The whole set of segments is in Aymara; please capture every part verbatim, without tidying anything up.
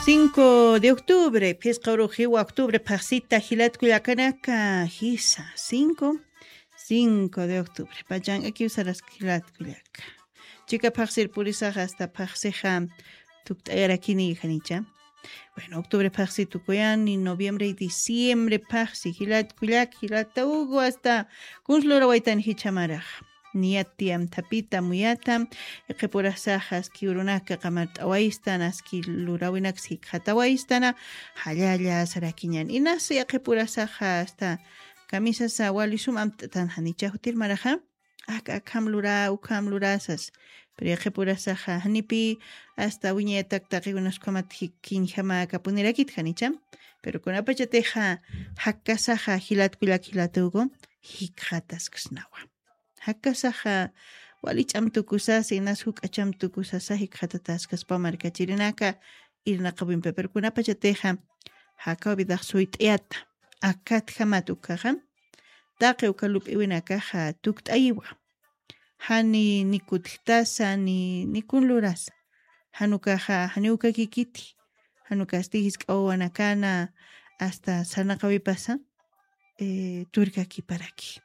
Cinco de octubre, phisqa uruxiwa octubre, phaxsita jilat kullakanaka, jisa, cinco, cinco de octubre, pachankakiw saraski jilat kullaka. Chika phaxsir purisaxa hasta phaxsixa tukt'ayarakini janicha. Bueno, octubre phaxsi tukuyani, noviembre y diciembre phaxsi, jilat kullak, jilata ugu, hasta kuns lurawaytan jichhamaraxa. Niyat tiyam thapita muyata, iqhipurasaxa aski urunaka qamart'awaystan, aski lurawinaks jikxatawaystana, jallalla sarakiñan. Inas iqhipurasaxa hasta kamisasa wali sum amt'atan janicha jutir maraxa, ak akham lura, ukham lurasas. Pero iqhipurasaxa janipi hasta wiñayatak taqiwinas ukhamat jik-, kiñjama kapunirakit janicha. Pero kunapachatixa jakkasaxa jilat kullak jilatuku, jikxataskasnawa. Jakkasaxa wali ch'am tukusasa, inas juk'a ch'am tukusasa jikxatataskaspa markachirinaka irnaqawimpi, pero kunapachatixa jakaw vidax suyt'ayata, akatjamat ukaxa, taqi uka lup'iwinakaxa tukt'ayiwa. Jani ni kutjtasa, ni, ni kun lurasa. Jan ukaxa, jani ukakikiti. Jan ukasti jisk'a wawanakana hasta sarnaqawipasa, eh, turkakiparaki.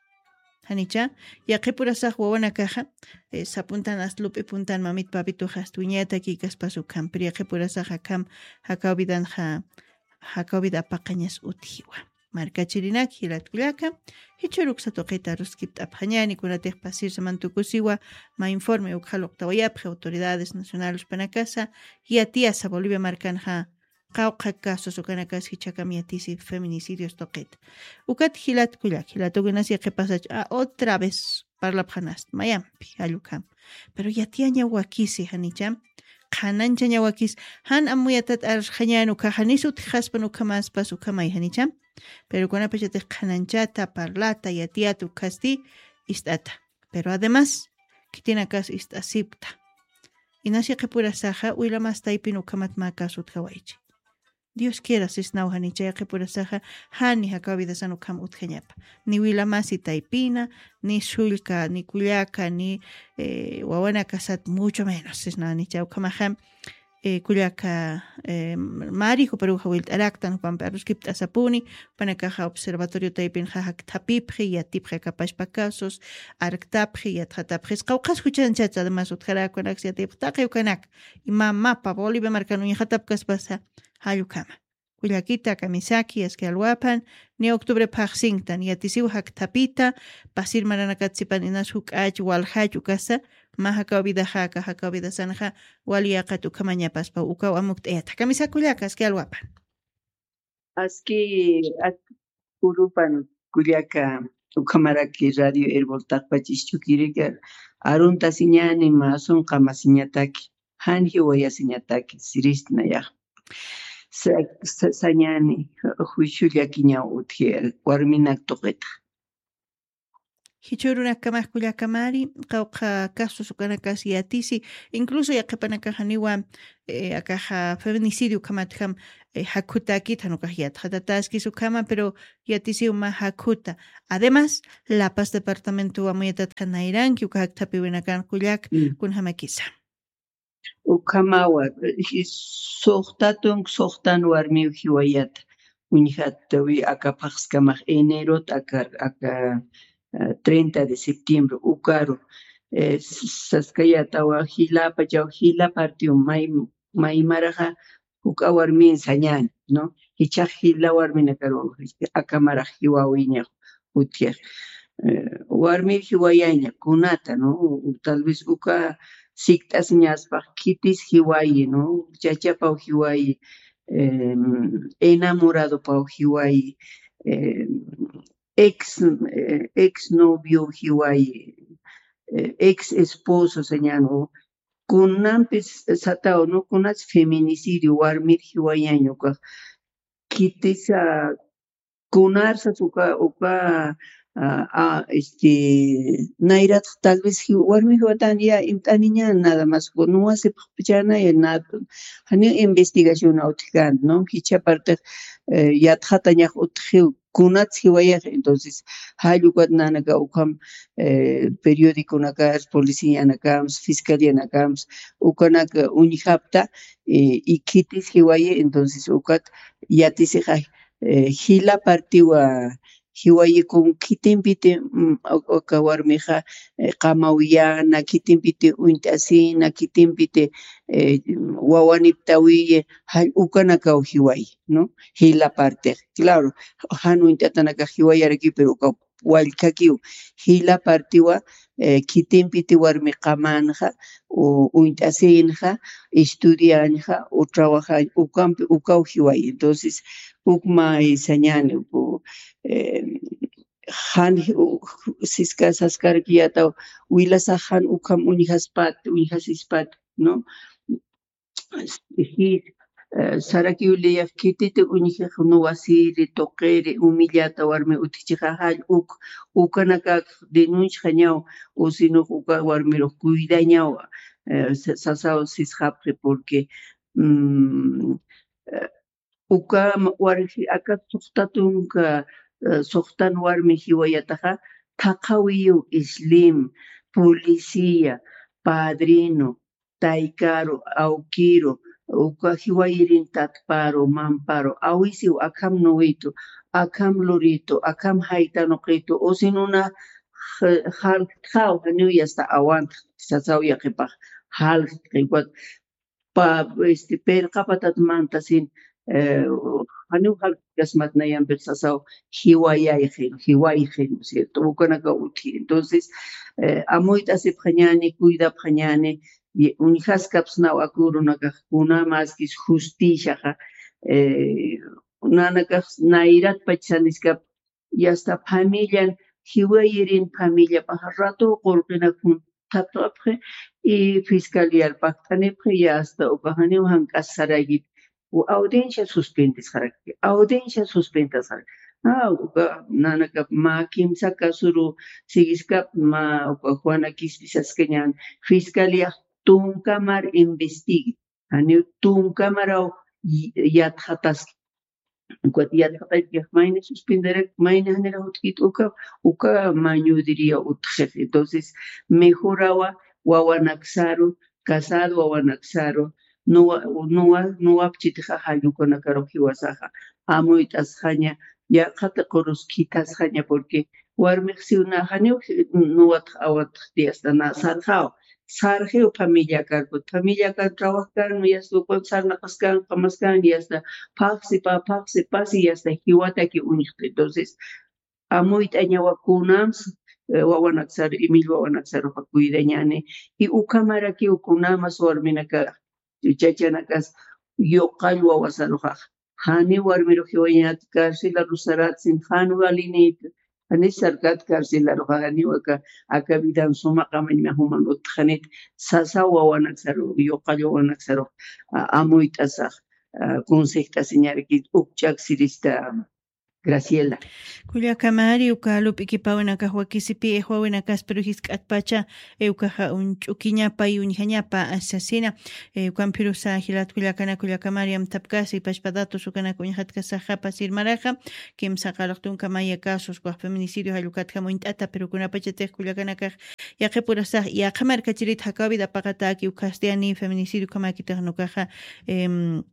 Janicha, yaqhipurasax wawanakaxa, eh, sapuntan hasta lup'ipuntan mamit papituxa hasta wiñayatakikaspas ukham, pero yaqhipurasax akham jakaw vidanxa, jakaw vida apaqañas utjiwa. Markachirinak jilat kullaka, jichhüruksa tuqita aruskipt'apxañani, kunatix pasirsaman tukusiwa, mä informe ukxa luqtawayapxi autoridades nacionales panakasa, yatiyasa Bolivia markanxa, qawqha casos ukanakas jichhakam yatisi feminicidios tuqita. Ukat jilat kullak, jilat ukinas yaqhipasach, a, otra vez parlapxanast, mayampi, jall ukham. Pero yatiyaña wakisi, janicha, qhananchaña wakis, jan amuyatat arsxañan ukhaxa, janis utjxaspan ukhamaspas ukhamay, janicha. Pero kunapachatix qhananchata, parlata, yatiyata ukhasti ist'ata. Pero además, khitinakas ist'asipkta. Inas yaqhipurasaxa, wilamas taypin ukhamat mä caso utjawaychi. Dios quiera, sisnaw janicha yaqhipurasaxa, jani jakaw vidasan ukham utjañapa. Ni wilamasi taypina, ni sullka, ni kullaka, ni, eh, wawanakasat, mucho menos, sisnaw janicha ukhamaxa, eh, kullaka, eh, mari, juparuxa wilt'araktan, jupampi aruskipt'asapuni, jupanakaxa observatorio taypinxa jakthapipxi, yatipxi akapachpa casos, arktapxi, yatxatapxi, qawqhas juchanchat además utjarak ukanaks yatipxi, taqi ukanak, ima mapa Bolivia markan uñxatapkaspasa, jall ukhama. Kullakita, kamisaki, aski alwapan, ni octubre phaxsinktan, yatisiw jakthapita, pasir maranakat sipan inas juk'ach, waljach, ukasa, mä jakaw vidaxa, aka jakaw vidasanxa, wali yaqat ukhamañapaspa, ukaw amukt'ayata. Kamisa kullaka, aski alwapan. Aski, ak-, urupan kullaka, ukhamaraki Radio Erbol taqpachis chukirika, aruntasiñani, mä sunqamasiñataki, jan jiwayasiñataki, siristnayax. Sa-, sa-, sañani, juicio llakiñaw utji, warminak tuqita. Jichhürunakamax kullakamari, qawqha casos ukanakas yatisi, incluso yaqhipanakaxaniwa, eh, akaxa feminicidio ukhamatjam, eh, jakhutakit, jan ukax yatxatataskis ukhama, pero yatisiw mä jakhuta. Además, La Paz departamento amuyatatxa nayranki, uka jakthapiwinakan kullak, Mm. kunjamakisa. Ukhamawa, eh, suxta tunk, suxtan warmiw jiwayata. Uñjatawi aka phaxskamax enerot aka, aka, eh, treinta de septiembre, ukaru, eh, s-, saskayatawa jilapachaw, jila partiw may, maymaraxa, juk'a warmin sañani, ¿no? Jichhax jila warminakaru, akamarax jiwawiñax, utjixa. Eh, warmir jiwayaña, kunata, ¿no? O, o tal vez uka sikt'asiñaspax khitis jiwayi, ¿no? Chachapaw jiwayi, em, enamoradopaw jiwayi, em, ex, eh, ex novio jiwayi, eh, ex esposo sañan, o kunampis sataw, ¿no? Kunas feminicidio, warmir jiwayaña ukax. Khitisa kunarsas uka, uka, ah, ah, este, nayratx tal vez ji-, warmi jiwatan ya imt'aniña, nada más, no wasipxpachana, ya nada, janiw investigación utjkänti, ¿no? Jichha partix, eh, yatxatañax utjiw, kunats jiwayax. Entonces, jall ukat nanaka ukham, eh, periodiconakas, policianakams, fiscalianakams, ukanak uñjapta, eh, y khitis jiwayi, entonces, ukat yatisixa, eh, jila partiwa, jiwayi kun khitimpiti, mm, uka warmixa, eh, qamawiyana, khitimpiti uñt'asina, khitimpiti, eh, wawaniptawiyi, jall ukanakaw jiwayi, ¿no? Jila partix. Claro, jan uñt'atanakax jiwayarakiw, pero ukaw wallkakiw. Jila partiwa, eh, khitimpiti warmi qamanxa, u-, uñt'asinxa, estudianxa, u trabajañ, ukampi, ukaw jiwayi. Entonces, ukmay sañani, uku, eh, jan, u-, siska, saskarakiyataw, wilasax jan ukham uñjaspat, uñjasispat, ¿no? Jis, eh, sarakiw liyax khititi uñjix nuwasiri, tuqiri, humillata warmi utjichixa jall uk, ukanakak denunciaxañaw, o sinux uka warmirux cuidañaw, eh, sa-, sasaw sisxapxi, porque, mm, eh, uka ma-, warji aka suxta tunka, eh, suxtan warmi jiwayataxa, thaqhawiyiw islim, policía, padrino, taykaru, awkiru, uka jiwayirin tatparu, mamparu, awisiw akham nuwitu, akham luritu, akham jaytanuqitu, usinuna j-, jaltxaw, janiw yasta awantx, sasaw yaqhipax, jaltxi, ukat pa, este, pirqapatat mantasin, eh, janiw jalt'kasmat nayampix sasaw, jiwayayxin, jiwayxin, ¿no es cierto? Ukanaka utji. Entonces, eh, amuyt'asipxañani, cuidapxañani, y uñjaskapsnaw aka urunakax, kunamaskis justiciaxa, eh, nanakax nayrat pachsaniskap, y hasta familian, jiwayirin familiapaxa ratu qullqinakun thapxi, y fiscaliar pakt'anipxi, y hasta ukax janiw jank'as sarayit, u audiencia suspendisxaraki, audiencia suspendasxaraki. Ah, uka nanakap mä kimsa kasuru siguiskap, mä uka Juana Quispi saskañan, fiscaliax tunkamar investigue, janiw tunkamaraw y-, yatxataski. Ukat yatxatakixa mayni suspenderak, mayni janirax utjkit uka, uka mañudiriya utjxix. Entonces, mejorawa wawanaksaru, casado wawanaksaru, nuwa, nuwa, nuwapchitixa jall ukanakarux jiwasaxa, amuyt'asxaña, yaqha tiqurus khithasxaña, porque warmix siw nä janiw nuwatx awatxti, hasta nä sarxaw, sarxiw familiakar, familiakar trabajkan, y hasta ukan sarnaqaskan, qamaskan, y hasta phaxsi pa, phaxsi pasi, y hasta jiwataki uñjti. Entonces, amuyt'añawa kunams, eh, wawanaksaru, imil wawanaksaruxa cuidañani, y ukhamarakiw kunamas warminaka, chachanakas, yuqall wawasaruxax, jani warmirux jiwañat carcelaru saratsin, jan walinit, jani sarkat carcelaruxa, janiw aka, aka vidan suma qamañma juman utjxanit, sasaw wawanaksaru, yuqall wawanaksaru, a-, amuyt'asax, a, consejt'asiñarakit, ukch'ak sirista Graciela. Kullakamari, uka lup'ikipäwinakax wakisipi, eh, wawinakas, pero jisk'atpacha, eh, ukaxa uñch'ukiñapa y uñjañapa, sasina, eh, ukampirusa jilat kullakana, kullakamari amtapkasi, pachpa datos ukanak uñjatkasaxa pasir maraxa, kimsa qallq tunka maya casos, ukax feminicidio jall ukatjam uñt'ata, pero kunapachatix kullakanakax yaqhipurasax, yaqha markachirit jakaw vida paqataki, ukasti ani feminicidio ukhamakitix nukaxa, em,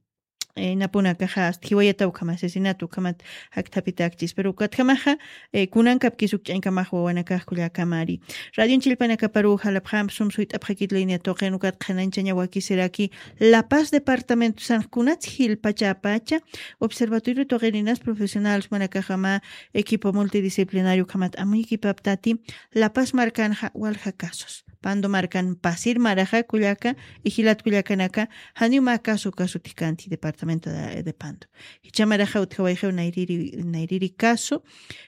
eh, napunakaxa, hasta jiwayataw ukhama asesinato ukhamat jaktapitakchis. Pero ukatjamaxa, eh, kunankapkis ukch'añkamax wawanakax kullakamari. Radion chillpanakaparu jalapxamp sum suyt'apxakit línea tuqin ukat qhanañchaña wakisiraki La Paz departamento san kunats jilpachapacha observatorio tuqininas profesional sumanakaxama equipo multidisciplinario ukhamat amuykipaptati La Paz markanxa walja casos. Pando markan pasir maraxa kullaka, y jilat kullakanaka, janiw mä caso, caso utjkanti departamento de, de Pando. Jichha maraxa utjawayxiw nayriri, nayriri caso,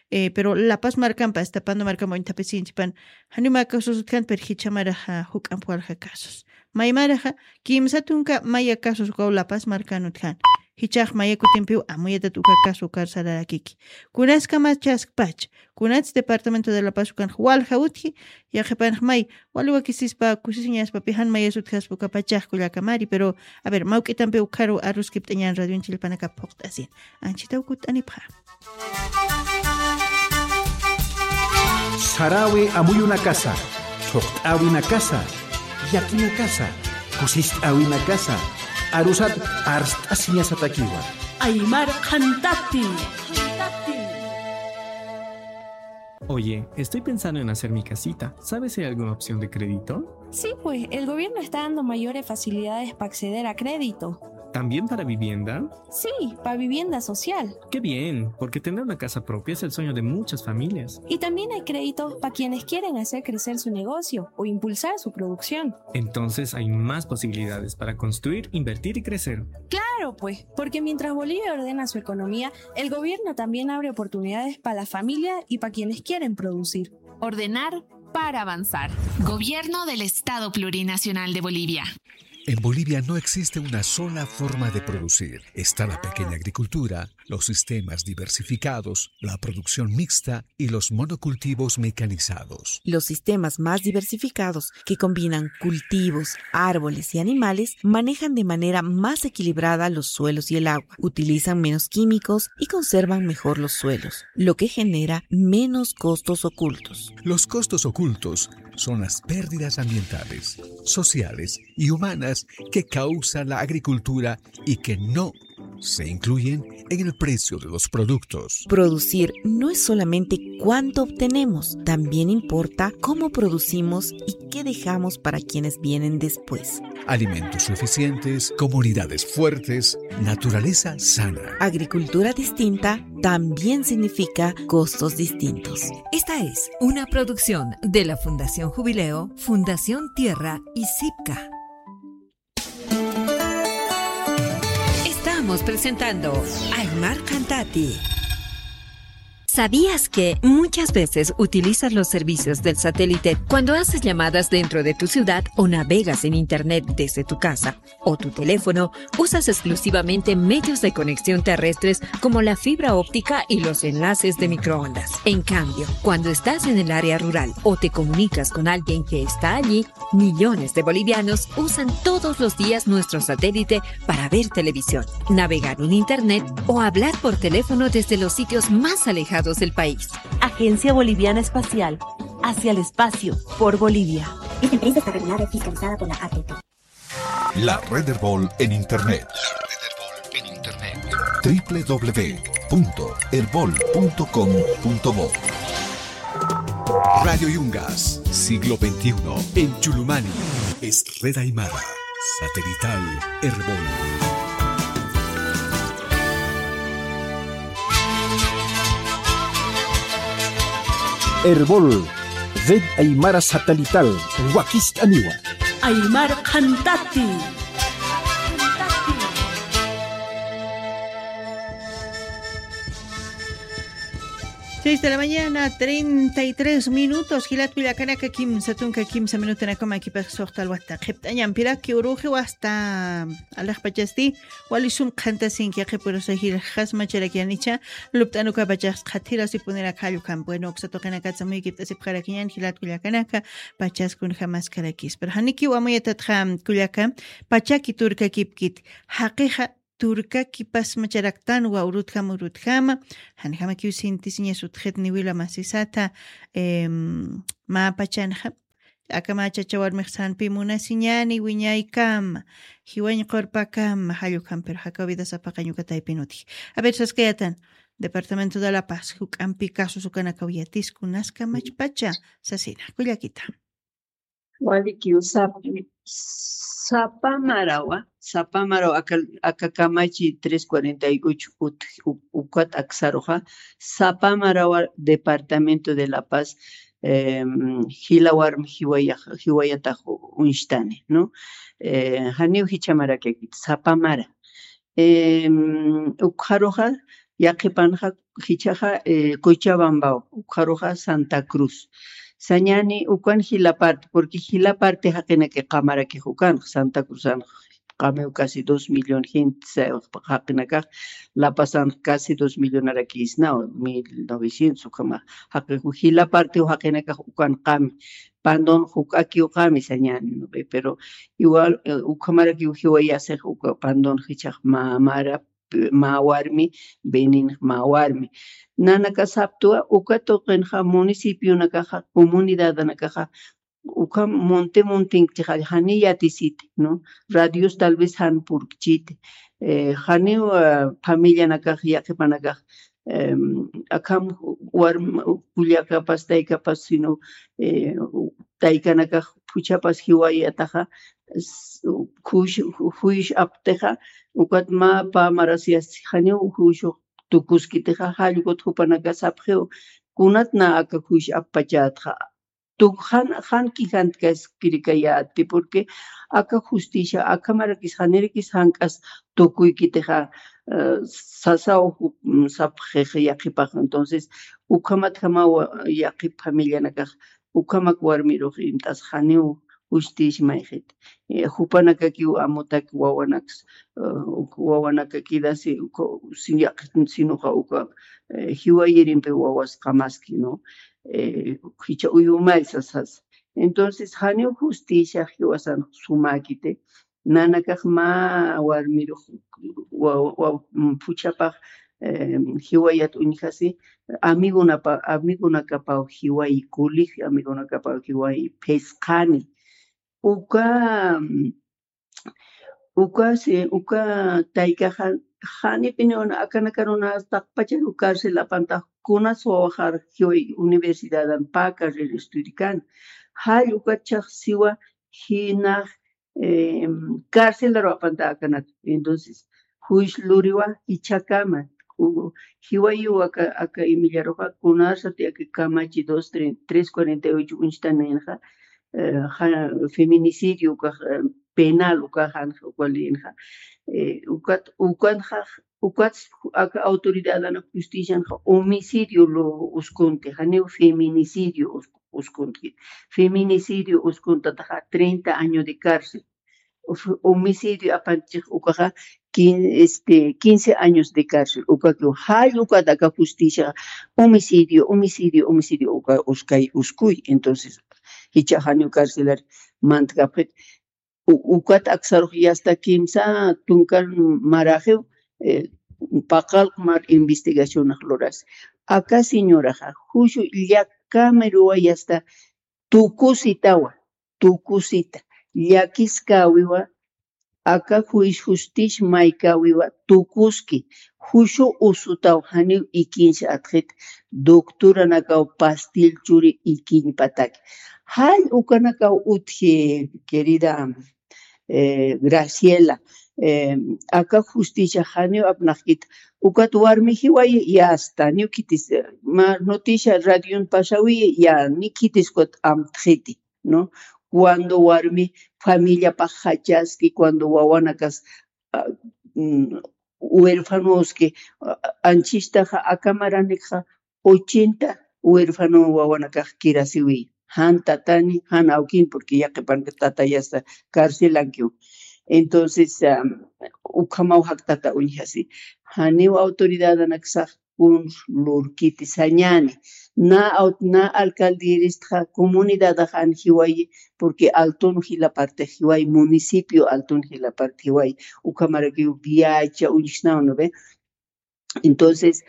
eh, pero La Paz markampa, hasta Pando markampa uñthapisinchipan, janiw mä casos utjkanti, pero jichha maraxa juk'amp walja casos. May maraxa, kimsa tunka maya casos ukaw La Paz markan utjkan. Jichhax maya kutimpiw amuyatat uka caso ukhar sararakiki. Kunas kamachaskpach, kunats departamento de La Paz ukanx walja utji, yaqhipanx may wali wakisispa kusisiñaspapi jan mayas utjaspa uka pachax kullaka mari, pero a ver, mawk'itampi ukharu aruskipt'añan radioñ chillpanakap phuqt'asin. Anchhitaw kutt'anipxa. Sarawi amuyunakasa, thuqt'awinakasa, llakinakasa, kusist'awinakasa, arusat arst'asiñasatakiwa. Aymar Qhantati. Oye, estoy pensando en hacer mi casita. ¿Sabes si hay alguna opción de crédito? Sí, pues, el gobierno está dando mayores facilidades para acceder a crédito. ¿También para vivienda? Sí, para vivienda social. Qué bien, porque tener una casa propia es el sueño de muchas familias. Y también hay créditos para quienes quieren hacer crecer su negocio o impulsar su producción. Entonces hay más posibilidades para construir, invertir y crecer. Claro, pues, porque mientras Bolivia ordena su economía, el gobierno también abre oportunidades para la familia y para quienes quieren producir. Ordenar para avanzar. Gobierno del Estado Plurinacional de Bolivia. En Bolivia no existe una sola forma de producir. Está la pequeña agricultura, los sistemas diversificados, la producción mixta y los monocultivos mecanizados. Los sistemas más diversificados, que combinan cultivos, árboles y animales, manejan de manera más equilibrada los suelos y el agua, utilizan menos químicos y conservan mejor los suelos, lo que genera menos costos ocultos. Los costos ocultos son las pérdidas ambientales, sociales y humanas que causa la agricultura y que no se incluyen en el precio de los productos. Producir no es solamente cuánto obtenemos, también importa cómo producimos y qué dejamos para quienes vienen después. Alimentos suficientes, comunidades fuertes, naturaleza sana. Agricultura distinta también significa costos distintos. Esta es una producción de la Fundación Jubileo, Fundación Tierra y CIPCA. Estamos presentando Aymar Qhantati. ¿Sabías que muchas veces utilizas los servicios del satélite cuando haces llamadas dentro de tu ciudad o navegas en internet desde tu casa o tu teléfono? Usas exclusivamente medios de conexión terrestres como la fibra óptica y los enlaces de microondas. En cambio, cuando estás en el área rural o te comunicas con alguien que está allí, millones de bolivianos usan todos los días nuestro satélite para ver televisión, navegar en internet o hablar por teléfono desde los sitios más alejados del país. Agencia Boliviana Espacial, hacia el espacio, por Bolivia. Esta empresa está regulada y fiscalizada por la A T T. La Red Erbol en Internet. W W W punto erbol punto com punto bo. Radio Yungas, siglo veintiuno, en Chulumani, es Red Aymara, satelital Erbol. Erbol, Red Aymara Satelital, wakist'aniwa. Aymar Qhantati. Seis de la mañana, treinta y tres minutos. Jilat kullakanaka, kimsa tunka kimsa minutanakama kipax suxta alwata qhipt'añampiraki uruxiw hasta alaxpachasti. Wali sum qhantasinki, yaqhipurasa jilxas macharakyanicha, lupt'anukapachax qhathirasipuniraka jallukampi. Bueno, uksa tuqinakatsa muy kipt'asipxarakiñan, jilat kullakanaka, pachas kunjamaskarakis. Pero janikiw amuyatatxa kullaka, pachaki turkakipkit, jaqixa turkakipas macharaktanwa urutjama, urutjama, janjamakiw sintisiñas utjit niwila masisata, em, mä pachanxa, Aka mä chacha warmix sanpi munasiñani wiñaykama, jiwañ qurpakama, jallukam, pero jakaw vida sapaqañ uka taypin utji. A ver, saskayatan, Departamento de La Paz, juk'ampi casos ukanakaw yatisku, naskamachpacha, sasina, kullakita. Walikiw sap-, sapa marawa, sapa marawa, aka, aka kamachi tres cuarenta y ocho ut-, u-, ukat aksaruxa, sapa marawa Departamento de La Paz, em, jila warmi jiwaya-, jiwayatax uñstani, ¿no? Eh, janiw jichha marakirakit, sapa mara. Em, ukxaruxa, yaqhipanxa, jichhaxa, eh, Cochabambaw, ukxaruxa Santa Cruz. Sañani ukan jila parte, porque jila parte jaqinaki qamarakix ukanxa, Santa Cruzanxa. qamiw casi dos millón gente jaqinakax, La Pazan casi dos millonaraki isnaw, mil novecientos ukhama jaqi, jila partiw jaqinakax ukan qami, Pandon juk'akiw qami sañani, ¿no ve? Pero igual, eh, ukhamarakiw jiwayasix uka Pandon jichhax mä mara, mä warmi, Benin mä warmi. Nanaka saptwa, uka tuqinxa municipionakaxa, comunidadanakaxa, uka monte montinchixa, jani yatisiti, ¿no? Radios tal vez jan purkchiti. Eh, janiw, ah, familianakax, yaqhipanakax, em, akham warm-, kullakapas, taykapas, sino, eh, taykanakax phuchhapas jiwayataxa, s-, juicio, juicio aptixa, ukat mä pä maras yasti janiw juicio tukuskitixa, jall ukat jupanaka sapxiw, kunat na aka juicio appachätxa, tuk jan, jan kijantkaskirikayäti, porque aka justicia, aka marakis, janirakis jank'as tukuykitixa, eh, sasaw ju-, mm, sapxix yaqhipax. Entonces, ukhamat jama wa-, yaqhip familianakax, ukhamak warmirux imt'as janiw justicia mayxit. Eh, jupanakakiw amutak wawanaks, eh, uk-, wawanakakidasi, uka, sin yaqhit, sinuxa uka, eh, jiwayirimpi wawas qamaski, ¿no? Eh, jichha uyumay sasas. Entonces, janiw justicia jiwasan sumäkiti, nanakax mä warmirux wa-, wa-, mm, phuchhapax, eh, jiwayat uñjasi, amigonapa-, amigonakapaw jiwayi, colegio amigonakapaw jiwayi, phisqani. Uka, mm, uka, si, uka taykaxa, janipiniw akanakaruna taqpacharu cárcel apantax, kunas wawaxar jiway universidadan pä carrera estudikan. Jall ukat chhax siwa jinax, em, cárcelaru apanta akanaka. Entonces, juicio luriwa jichhakama. U-, jiwayiw aka, aka imillaruxa, kunasati aka kamachi dos, tre-, tres cuarenta y ocho uñchtanïnxa, eh, ja-, feminicidio ukax, eh, penal ukax, jan ukalïnxa. Eh, ukat, ukanxa, ukat aka autoridadanak justicianxa homicidio lo uskunti, janiw feminicidio us-, uskunti. Feminicidio uskuntataxa treinta años de cárcel. Uf, homicidio apanchix ukaxa quin-, este, quince años de cárcel. Ukakiw jall ukat aka justicia, homicidio, homicidio, homicidio, uka uskay, uskuy. Entonces, jichha janiw carcelar mantkapxit. U-, ukat aksarux yasta kimsa tunkan maraxiw, eh, paqallq mar investigacionax lurasi. Aka señoraxa, juicio llakamiruwa yasta tukusitawa, tukusita, llakiskäwiwa, aka juicio justicia maykäwiwa tukuski, juicio usutaw janiw ikiñsa atxit, doctoranakaw pastil churi ikiñpataki. Jall ukanakaw utji, querida, eh, Graciela, eh, aka justicia janiw apnaqkit, ukat warmi jiwayi yasta, niw khitis, eh, mä noticia radion pasawi ya, ni khitis ukat amtxiti, ¿no? Cuando warmi familiapax jachaski, cuando wawanakas, ah, mm, huérfanoski, ah, anchhistaxa aka maranikxa ochenta huérfano wawanakax kirasiwi. Jan tatani, jan awkin, porque yaqhipanka tatayasta carcelankiw. Entonces, ah, ukhamaw jaktata uñjasi. Janiw autoridadanaksax kuns lurkiti sañani. Na au-, na alcaldieristxa comunidadax jan jiwayi, porque Altun jila parte jiwayi, municipio Altun jila parte jiwayi, ukhamarakiw viacha uñjsnaw, ¿no ve? Entonces,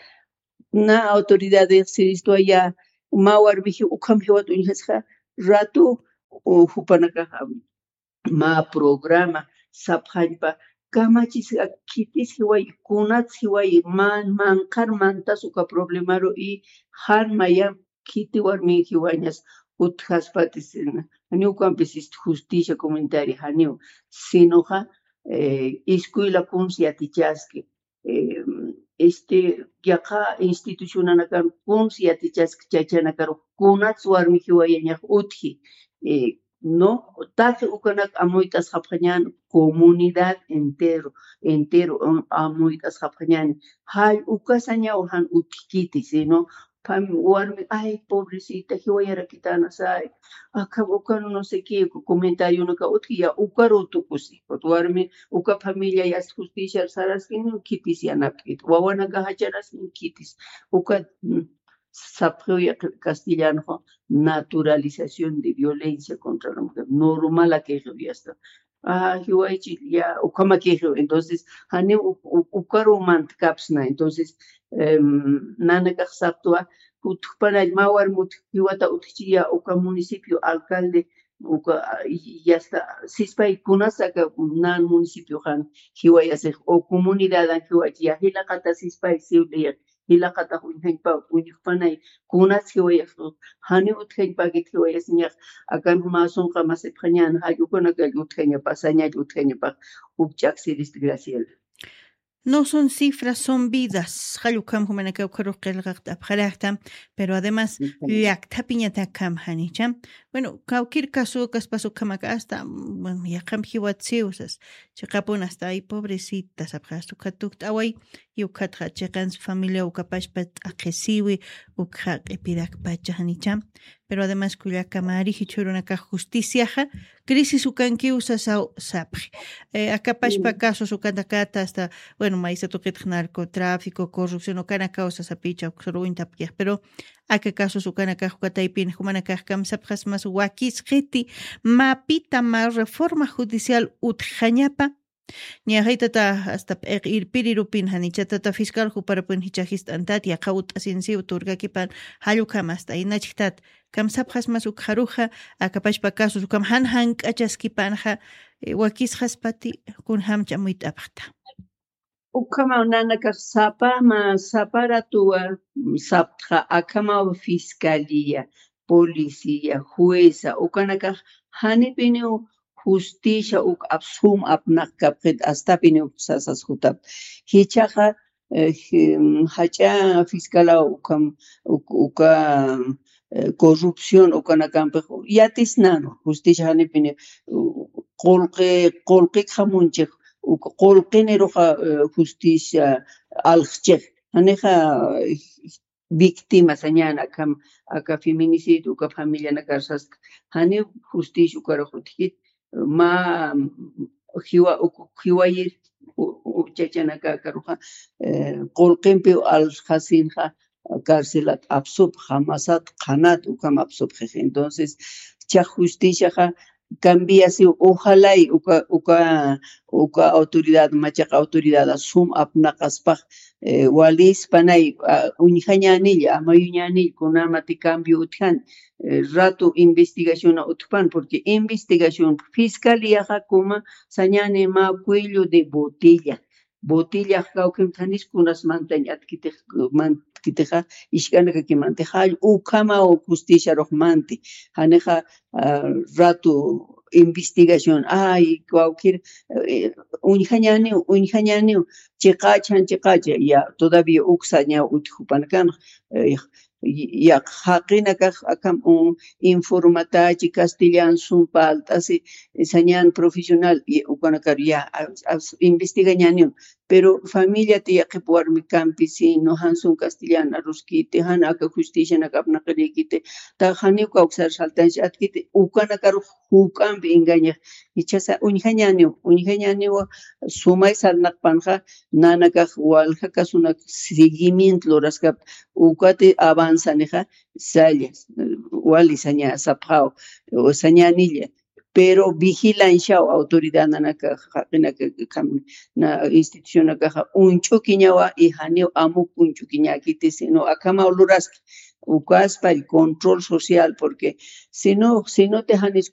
na autoridad siristwa ya, mä warmiji ukham jiwat uñjasxa, ratu, o, jupanakaxa, mä programa, sapxañpa, kamachis, khitis jiwayi, kunats jiwayi, man-, manqhar mantas uka problemaru y jan mayam khiti warmi jiwañas utjaspatis, janiw ukampis ist justicia comunitaria janiw, sinoxa, eh, escuela kuns yatichaski, eh, este, yaqha institucionanakan kuns yatichaski, chachanakarux kunats warmi jiwayañax utji, eh, no, taqi ukanak amuyt'asxapxañän comunidad entero, entero, am-, amuyt'asxapxañäni. Jall uka sañaw jan utjkiti, sino Pam-, warmi, ay, pobrecita, jiwayarakitana, say, aka, uka, no sé qué, comentariona ka utki, ya, ukaru tukusi, warmi, uka familia, ya, justicia, saraskin, kitis, ya, napkit, wawanaka, jacharas, kitis, uka, mm, sapxiw, ya, castellano, naturalización de violencia contra la mujer, normal, aka, ya, está. Ah, jiwaychi, ya, ukhamakïxiw. Entonces, janiw u-, u-, ukaru mantkapsna. Entonces, em, nanakax saptwa, utjpanall mä warmi utj-, jiwata utjchi, ya, uka municipio alcalde, uka, ah, y, y hasta, sispay kunas aka nan municipio jan, jiwayasix, o comunidadan jiwaychi, ya, jilaqata sispay siwli, ya, jilaqatax uñjañpa, uñjpanay, kunas jiwayasix, janiw utjañpakit jiwayasiñax, akan mä sunqa masipxañän, jall ukanakall utjañapa, sañall utjañapa, ukch'aksirist Graciela. No son cifras, son vidas. Jall ukham jumanakaw ukharux qillqaqta apxarakta, pero además, ujú, llakthapiñatakham janicha. Bueno, cualquier caso, kaspas ukhamaka hasta, mm, bueno, yaqham jiwatsiw sas. Chiqapun hasta, ay, pobrecita, sapxi, hasta ukhat tukt'away, y ukhatxa chiqans familia ukapachpa t'aqhisiwi, ukxa q'ipirakpacha janicha. Pero además, kullaka mari jichhürunakax justiciaxa, crisis ukankiw sasaw sapxi. Eh, akapachpa casos ukanakata hasta, bueno, maysa tuqitx narcotráfico, corrupción, ukanakaw sasapicha, uksaruñ tapkiyax. Pero aka casos ukanakax, uka taypin jumanakax kamsapxasmas wakisqiti, mapita mä reforma judicial utjañapa, ñaxaytata hasta p'iq irpirirupin janichatata fiscal juparapun jichha jist'antat, yaqha ut'asinsiw turkakipan, jall ukham hasta inachktat, kamsapxasmas ukxaruxa, akapachpa casos ukham jan jank'achaskipanxa, eh, wakisxaspati, kunjamcha amuyt'apxta. Ukhamaw nanakax sapa mä, sapa ratuwa, mm, saptxa akhamaw fiscalía, policía, jueza, ukanakax janipiniw justicia uk apsum apnaqkapxit astapiniw sasas jutap. Jichhaxa, eh, ji-, mm, jach'a fiscalaw ukham, uk-, uka, eh, corrupción ukanakampix yatisnanu, justicia janipiniw, u-, qullqi, qullqikxa munchix, uk qullqiniruxa, eh, justicia alxchix. Janixa, eh, víctima sañäni akham, aka feminicidio, uka familianakar sasta. Janiw justicia ukarux utjkit, mä jiwa, uk-, jiwayir, u-, u-, chachanaka akaruxa, eh, qullqimpiw alxasinxa, carcelat apsupxa, masat qhanat ukham apsupxix. Entonces, jichhax justiciaxa cambiasiw, ojalay uka, uka, uka autoridad, machaq autoridad sum apnaqaspax, eh, walispanay, ah, uñjañänilla, amayuñänilla, kunamati cambio utjan, eh, ratu investigaciona utjpan, porque investigación fiscaliaxa kuma sañäni mä cuello de botella. Botellax kawkimthanis kunas mantañ atkitix, mantkitixa, isk'anakakimantixa, ukhamaw justiciarux manti. Janixa, ah, ratu investigación, ay, cualquier, eh, uñjañäniw, uñjañäniw, chiqach, jan chiqach, ya, todavía uksañaw utjupanakanx, eh, ya, jaqinakax akham, um, informatachi, castellan, sum palt'asi, sañän profesional, y ukanakar ya, a, a, investigañäniw. Pero familiati yaqhip warmi campesino, jan sum castellan aruskiti, jan aka justicianak apnaqirïkiti, ta janiw kawksar saltanch atkiti, ukanakarux juk'ampi engañax, jichhasa uñjañäniw, uñjañäniw sumay sarnaqpanxa, nanakax walja casunak seguimiento luraskapta, ukati avanzanixa, salla, wali saña sapxaw, o sañänilla, pero vigilanciaw autoridad nanakax, jaqinaka, na institucionakaxa uñch'ukiñawa, y janiw amuk uñch'ukiñäkiti, sino akhamaw luraski, ukaspall control social, porque sino, sino te janis